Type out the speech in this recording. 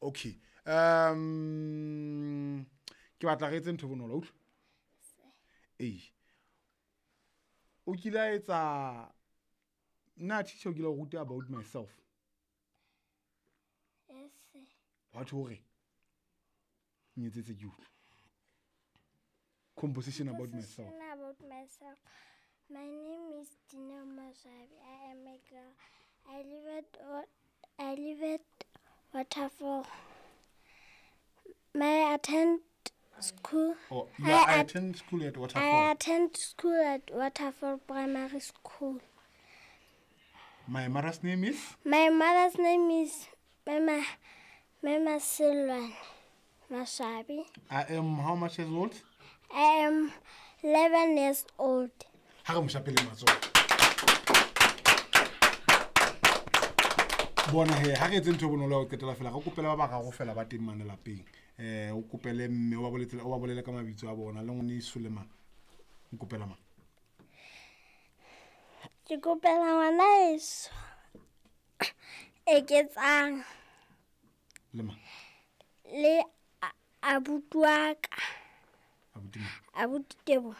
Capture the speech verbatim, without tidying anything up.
Okay, um ke batla re etse ntho e bonolo, utlwa. Ee, o kile a etsa nna teacher o kile a o ruta about myself? Yes, sir. Wa tho hore nyetsetse ke utlwe composition about myself. Composition about myself. My name is Dineo Maswabi. I am a girl. I live at Wa- I live at Waterfall. My attend school. Oh, yeah, I I, at- attend school at I Waterfall. attend school at Waterfall Primary School. My mother's name is? My mother's name is Mama Mama Silwan Maswabi. I am how much years old? I am eleven years old. Ha re mo shapele matsoho. Bona he, ha re etse ntho e bonolo ya ho qetela fela, re kopele ba bararo fela ba teng mane lapeng. Eh, o kopele mme, o ba boletse, o ba bolele ka mabitso a bona, le ngwaneso le mang. O kopela mang? Ke kopela ngwana heso Eketsang. Le mang? Le a-, abuti wa ka. Abuti mang? Abuti Tebo.